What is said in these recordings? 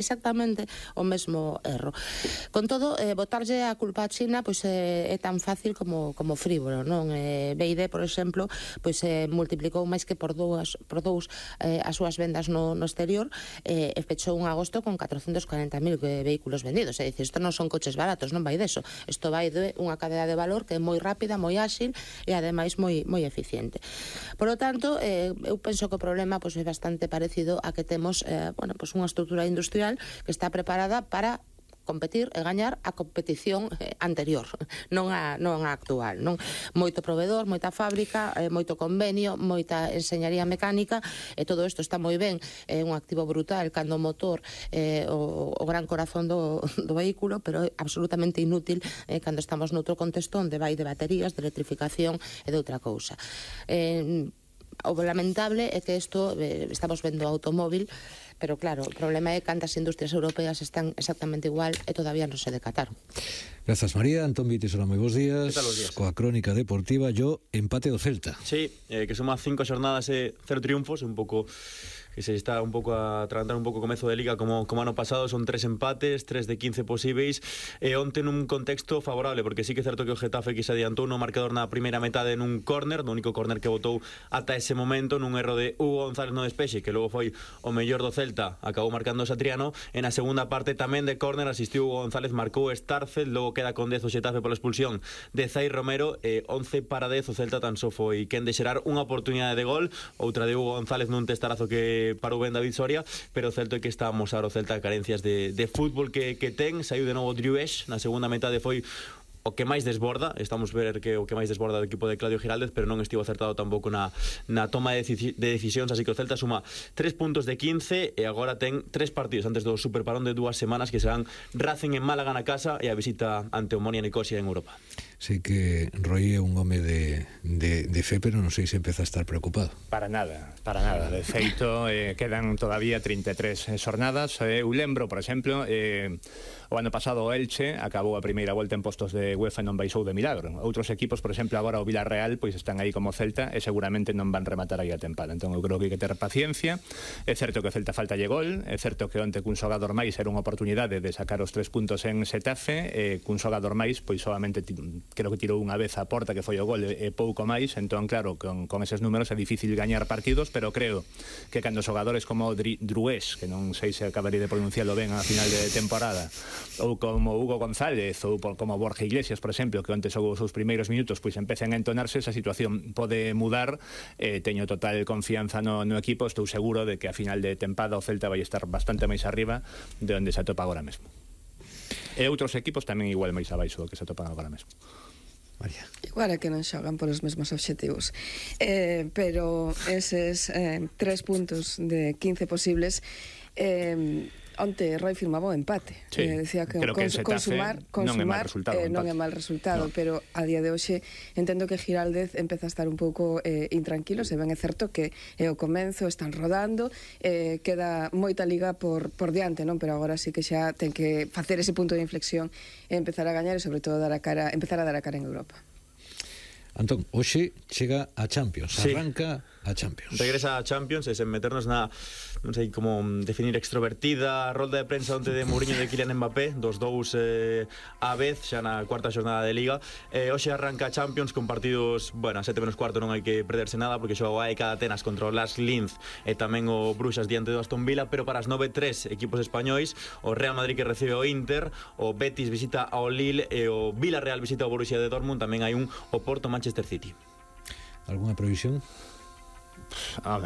exactamente o mesmo erro. Con todo, botarlle a culpa a China pois é tan fácil como frívolo, non? BID, por exemplo, pois multiplicou máis que por dous as súas vendas no exterior e fechou un agosto con 440.000 vehículos vendidos. É dicir, isto non son coches baratos, non vai deso. Isto vai de unha cadea de valor que é moi rápida, moi áxil e ademais moi eficiente. Por lo tanto, eu penso que o problema pois é bastante parecido a que temos pois unha estrutura industrial que está preparada para competir e gañar a competición anterior, non a actual, non? Moito provedor, moita fábrica, moito convenio, moita enseñaría mecánica, e todo isto está moi ben, é un activo brutal cando o motor o gran corazón do vehículo, pero é absolutamente inútil cando estamos noutro contexto onde vai de baterías, de electrificación e de outra cousa. O lamentable é que isto, estamos vendo o automóvil, pero claro, o problema é cantas industrias europeas están exactamente igual e todavía non se decataron. Grazas, María. Antón Vitis, hola, moi bons días. Que tal os días? Coa crónica deportiva, yo empate do Celta. Sí, que suma 5 xornadas e 0 triunfos, un pouco que se está un pouco a atragantar un pouco o comezo de Liga como ano pasado, son 3 empates, 3 de 15 posíveis, e onte nun contexto favorable, porque sí que é certo que o Getafe que se adiantou no marcador na primeira metade nun córner, no único córner que botou ata ese momento, nun erro de Hugo González no despexe, que logo foi o mellor do Celta, acabou marcando Satriano. En a segunda parte tamén de córner asistiu Hugo González, marcou Starfelt, logo queda con 10 o Xetafe pola expulsión de Zai Romero, 11 para 10 o Celta tan só foi quen de xerar unha oportunidade de gol, outra de Hugo González nun testarazo que parou ben David Soria, pero o certo é que está a mostrar o Celta carencias de fútbol que ten. Saiu de novo Driouech, na segunda metade foi o que máis desborda, estamos ver que o que máis desborda do equipo de Claudio Giraldez, pero non estivo acertado tampouco na toma de decisións, así que o Celta suma 3 puntos de 15 e agora ten 3 partidos antes do superparón de 2 semanas que serán Racing en Málaga na casa e a visita ante o Omonia Nicosia en Europa. Sei que Roy é un home de fe, pero non sei se empeza a estar preocupado. Para nada. De feito, quedan todavía 33 xornadas. Eu lembro, por exemplo, o ano pasado o Elche acabou a primeira volta en postos de UEFA e non baixou de milagro. Outros equipos, por exemplo, agora o Villarreal, pois están aí como Celta e seguramente non van rematar aí a tempada. Entón eu creo que hai que ter paciencia. É certo que o Celta faltalle gol, é certo que onte cun xogador máis era unha oportunidade de sacar os 3 puntos en Xetafe, e cun xogador máis, pois solamente creo que tirou unha vez a porta, que foi o gol, e pouco máis. Entón, claro, con eses números é difícil gañar partidos, pero creo que cando xogadores como Driouech, que non sei se acabaría de pronunciarlo ben a final de temporada, ou como Hugo González, ou como Borja Iglesias, por exemplo, que onte xogou os seus primeiros minutos, pois empecen a entonarse, esa situación pode mudar. Teño total confianza no equipo, estou seguro de que a final de tempada o Celta vai estar bastante máis arriba de onde se atopa agora mesmo. E outros equipos tamén igual máis abaixo do que se atopan agora mesmo. María. Igual é que non xogan polos mesmos obxectivos, pero eses 3 puntos de 15 posibles, onte Roy firmaba o empate. Sí, decía que consumar non é mal resultado, no. Pero a día de hoxe entendo que Giraldez empeza a estar un pouco intranquilo. Se ben é certo que é o comenzo, están rodando, queda moita liga por diante, non? Pero agora sí que xa ten que facer ese punto de inflexión e empezar a gañar e sobre todo empezar a dar a cara en Europa. Antón, hoxe chega a Champions, sí. Arranca a Champions. Regresa a Champions e sen meternos na, non sei como definir, extrovertida rolda de prensa onte de Mourinho de Kylian Mbappé, dos dous a vez, xa na cuarta xornada de Liga. Hoxe arranca a Champions con partidos, bueno, a 7:15 non hai que perderse nada, porque xoga o AEK Atenas contra o Las Linz e tamén o Bruxas diante do Aston Villa, pero para as 9:03 equipos españois, o Real Madrid que recibe o Inter, o Betis visita ao Lille e o Villarreal visita o Borussia de Dortmund, tamén hai un Oporto Manchester City. Alguna previsión?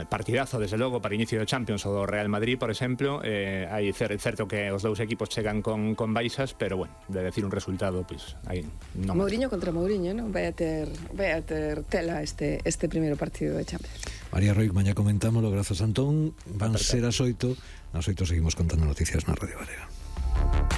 Partidazo, desde logo, para inicio do Champions, o do Real Madrid, por exemplo. Hai certo que os dous equipos chegan con baixas, pero bueno, de decir un resultado, pois aí non. Mourinho contra Mourinho, non? Vai a ter tela este primeiro partido de Champions. María Roig, mañá comentámoslo. Grazas, Antón. Van ser as 8. Nas 8 seguimos contando noticias na Radio Galega.